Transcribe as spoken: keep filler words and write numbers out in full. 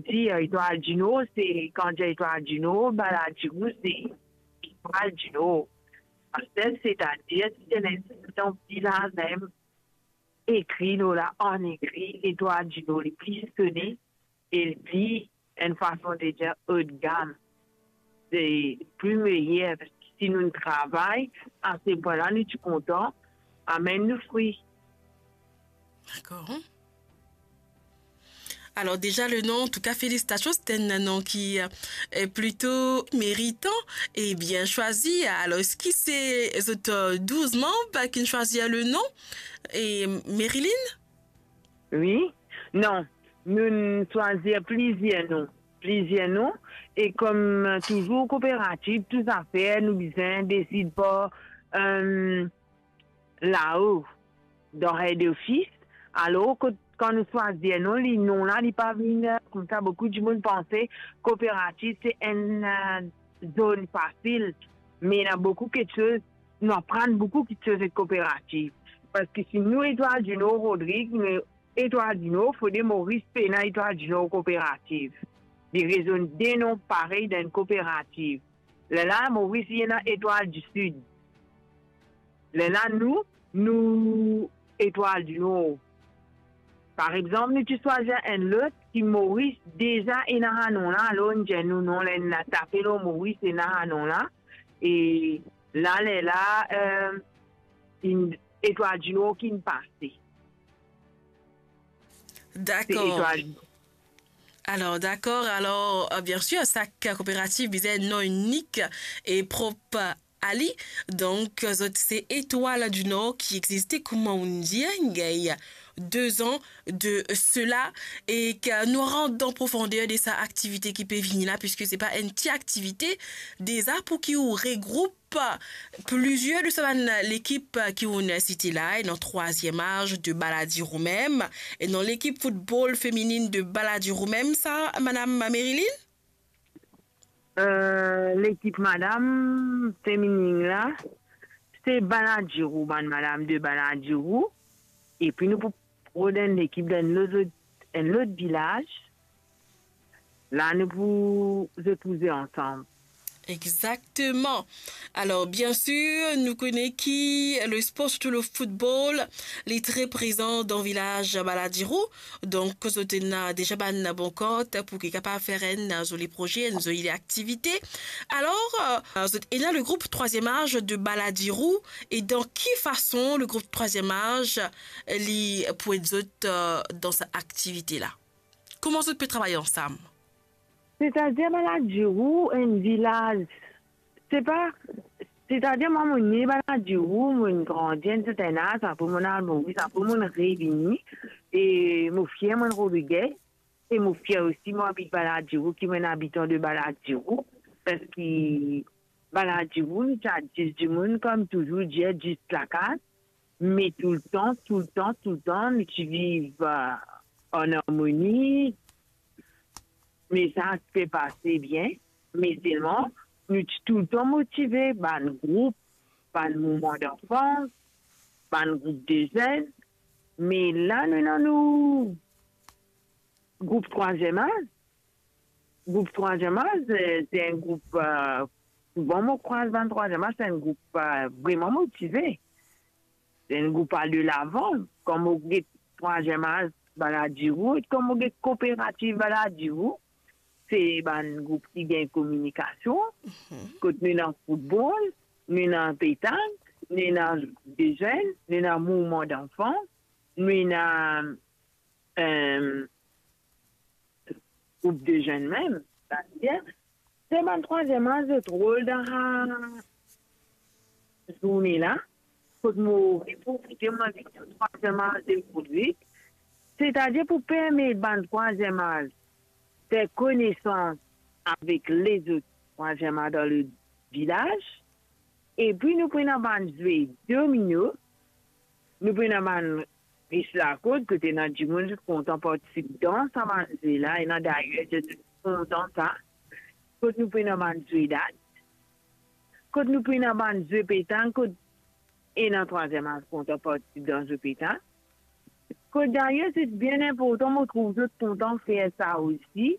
Dir Etwal Dinor, se kan dir Etwal Dinor, Baladiro se Etwal Dinor. Parski, setadir, si ti ena enn vilaz mem ekri lor la, an ekri, Etwal Dinor, li pli sone, e li pli, enn fason de dir, haut de gamme. Se pli meyer, parski si nou travay, a se pwin la, nou ti kontan, amenn nou fri. Dakor. Alors déjà le nom, en tout cas félicitations, c'est un nom qui euh, est plutôt méritant et bien choisi. Alors est-ce que c'est zot euh, douz manb ki finn swazir le nom e Marilyn? Wi, non, nou swazir plizier non, plizier non, e kom touzour kooperativ, tou zafer nou bizin desid par euh, lao dan head office. Alor kot kan nou swazir non, li non la li pa vinn koumsa, boukou dimoun panse kooperativ se enn euh, zone fasil, me ena boukou kiksoz, nou aprann boukou kiksoz ek kooperativ. Parski si nou Etwal Dinor Rodrig, nou Etwal Dinor, fode Moris pena Etwal Dinor kooperativ. Li rezonn de non parey dan enn kooperativ. Lerla Moris li ena Etwal di Sid. Lerla nou, nou Etwal di Nor. Par exanp, nou ti swazir enn lot ki Moris deza ena sa non la, alor nou dir nou non, lerla nou tape lor Moris ena sa non la. E la, lerla euh, Etwal di Nor ki'nn pase. Dakor. Alor, dakor. Alor, euh, bien sûr, sak kooperativ bizin enn non inik e prop a li. Donk, zot se Etwal di Nor ki existe, kouma ou'nn dir, gagn deux ans de cela, e ki nou rant dan profonder de sa aktivite ki pe vini la, piski se pa enn ti aktivite. Deza pou ki ou regroup plizier de sa bann lekip ki ou'nn site la, ena trwaziem az de Baladiro mem, ena lekip foutbol femininn de Baladiro mem, sa, madam Marilyn? Euh, lekip madam femininn la, se Baladiro, bann madam de Baladiro, epi nou pou rod enn lekip dan enn lot, enn lot vilaz. La nou pou zot pou zwe ansam. Exactement. Alors, bien sûr, nou kone ki le sport, surtout le football, li tre prezan dan vilaz Baladiro. Donk, zot ena deza bann bon kart pou ki kapav fer enn zoli proze, enn zoli aktivite. Alor, euh, zot ena le group Trwaziem Az de Baladiro, e dan ki fason le group Trwaziem Az li pou ed zot euh, dan sa aktivite la? Kouma zot pe travay ansam? Setadir Baladiro enn vilaz, se pa, setadir mwa mo ne Baladiro, mo'nn grandi enn serten az, apre mo'nn al Moris, apre mo'nn revini, e mo fier mo'nn Rodriguez, e mo fier osi mo abit Baladiro, ki mo'nn abitan de Baladiro, parski Baladiro nou ti a dis dimoun, kom touzour dir, dis lakaz, me toultan, toultan, toultan nou ti viv euh, an armoni, me sa ti pe pase bien, me selman nou ti toultan motive, bann group, bann mouvman danfans, bann group de zenn, me la nou ena nou group Trwaziem Az. Group Trwaziem Az, euh, se enn group, euh, souvan mo krwaz bann Trwaziem Az, se enn group euh, vreman motive. Se enn group al de lavan. Kan mo get Trwaziem Az Baladiro, e kan mo get kooperativ Baladiro, se bann group ki gagn kominikasion, kot nou ena foutbol, nou ena petank, nou ena de zenn, nou ena mouvman danfans, nou ena euh, group de zenn mem, setadir se bann Trwaziem Az zot rol dan sa zourne la, kot mo pe profite, mo invit tou Trwaziem Az de Rodrig, setadir pou permet bann Trwaziem Az fer konesans avek lezot Trwaziem Az dan le vilaz, epi nou pou ena bann zwe domino, nou pou ena bann pis lakord, kot ena dimoun zot kontan partisip dan sa bann zwe la, ena dayer zot kontan sa, kot nou pou ena bann zwe dat, kot nou pou ena bann zwe petank, kot ena Trwaziem Az kontan partisip dan zwe petank. Kot dayer se bien inportan, mo trouv zot kontan fer sa osi,